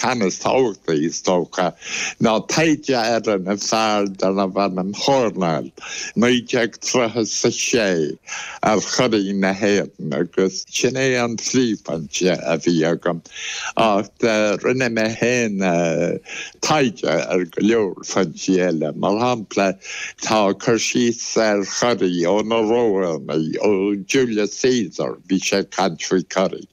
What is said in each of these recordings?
Ceann is tábhachtaí, is dócha, ná taighde a rinne fear darbh ainm Hornell, 1936, ar churaí na hÉireann agus sin é an phríomhfhoinse a bhí agam. Ach rinne mé féin taighde ar go leor foinsí eile. Mar shampla, tá cur síos ar churaí ó na Rómhánaigh, ó Julius Caesar, bhí sé ag caint faoi churaí.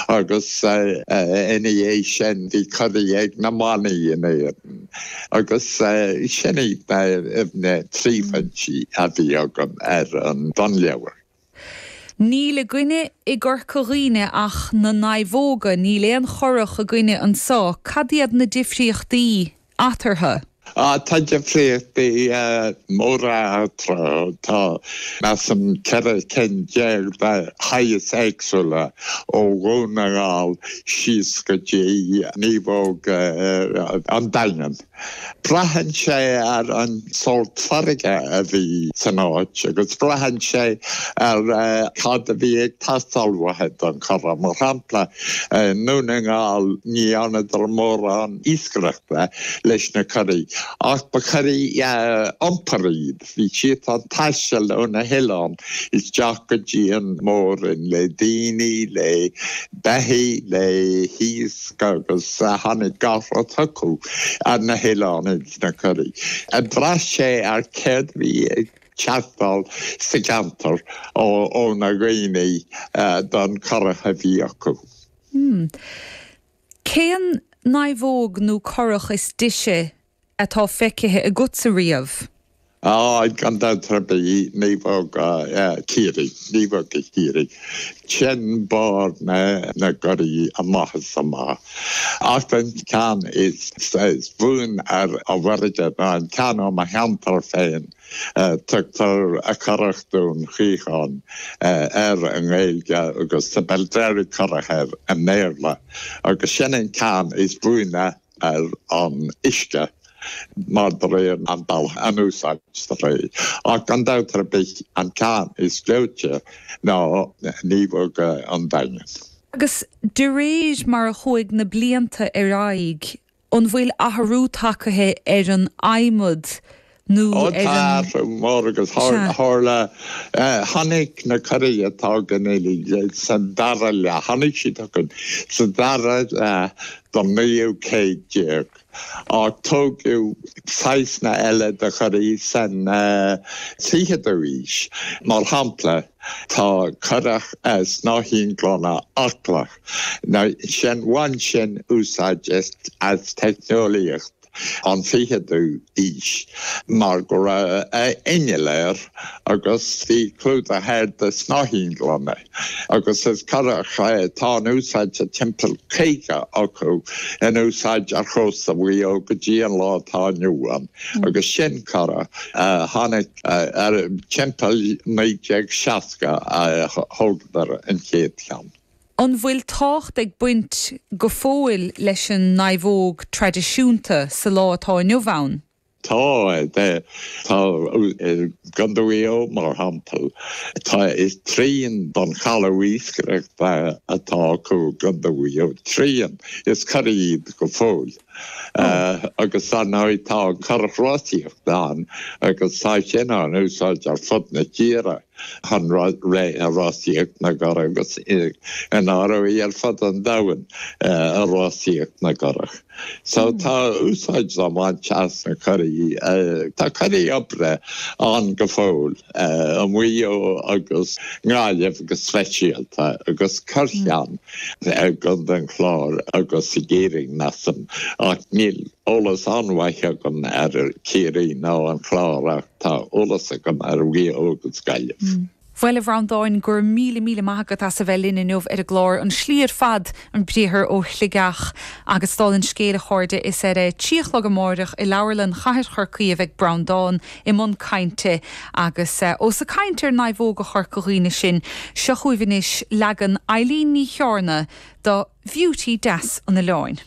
Agus ina dhiaidh sin bhí curaí ag na manaigh in Éirinn. Agus sin iad na príomhfhoinsí a bhí agam ar an bunleabhar. Níl againne i gCorca Dhuibhne ach na naomhóga, níl aon churach againne anso. Cad iad na difríochtaí eatarthu? Tá difríochtaí móra eatarthu. Tá, measaim, 14 cinn de shaghas éagsúla ó Dhún na nGall síos go dtí naomhóg an Daingin. Braitheann sé ar an sórt farraige a bhí san áit agus braitheann sé ar cad a bhí ag teastáil uathu don churach. Mar shampla, i nDún na nGall ní dhearnadar mórán iascaireachta leis na curaí ach ba churaí iompair iad. Bhí siad ag taisteal ó na hoileáin isteach go dtí an Mór-Roinn le daoine, le beithígh, le hiasc. agus tháinig gach rud chucu ar na hoileáin ins na curaí. Bhraith sé ar céard a bhí ag teastáil sa gceantar ó na dhaoine don churach a bhí acu. Cén naomhóg nó curach is deise atá feicthe agatsa riamh? Á, gan dabht ar bith, naomhóga Chiarraí, naomhóga Chiarraí. Sin barr na gcuraí amach is amach. Ach an ceann is buaine ar an bhfarraige ná an ceann ó mo cheantar féin, tugtar Currach Dún Chaocháin air i nGaeilge agus The Belderrig Curragh air i mBéarla, agus sin an ceann is buaine ar an uisce mar de réir an bealach a n-úsáidtear é. Ach gan dabht ar bith an ceann is gleoite ná Naomhóga an Daingin. Agus de réir mar a chuaigh na blianta ar aghaidh, an bhfuil athrú tagtha ar an adhmad nó ar an. Ó tá athrú mór agus tharla, tháinig na curaí atá againn uilig sa dara leath, tháinig siad chugainn sa dara leath den naoú céad déag ach tógadh saghsanna eile de churaí san fichiú aois. Mar shampla, tá curach snáithín gloine aclach, now sin, bhain sin úsáid as teicneolaíocht an fichiú aois mar go raibh inneall air agus bhí clúdach air de shnáithín gloine agus is curach atá in úsáid tá timpeall 50 acu in úsáid ar chósta Mhaigh Eo go dtí an lá atá inniu ann agus sin curach a tháinig ar timpeall 1960 a thógadar an chéad cheann. An bhfuil tábhacht ag baint go fóill leis an naomhóg traidisiúnta sa lá atá inniu ann? Tá, tá. I gContae Mhaigh Eo, mar shampla, tá trian den chaladh iascaireachta atá acu i gContae Mhaigh Eo, trian, is curaí iad go fóill. Agus dar ndóigh tá an curach rásaíochta ann agus tá sin á n-úsáid ar fud na tíre. chun rásaíocht na gcurach agus i ndáiríre ar fud an domhain i rásaíocht na gcurach. So tá úsáid á baint as na curaí. Tá curaí oibre ann go fóill i Maigh Eo agus nGaillimh go speisialta agus corrcheann i gContae an Chláir agus i gCiarraí measaim ach níl eolas an-mhaith agam ar Chiarraí ná an Clár ach Tá eolas agam ar Mhaigh Eo agus Gaillimh. Bhuel, a Bhreandáin, go raibh míle míle maith agat as a bheith linn inniu ar an gclár An Slí ar fad, an briathar ó Shligeach. Agus dála an scéil, a chairde, is ar a trí a chlog amáireach i Leabharlann Chathair Chorcaí a bheidh Breandán i mbun cainte. Agus ós ag caint ar naomhóga Chorca Dhuibhne sinn, seo chugaibh anois leagan Eileen Ní Chearna do Bheauty Deas an Oileáin.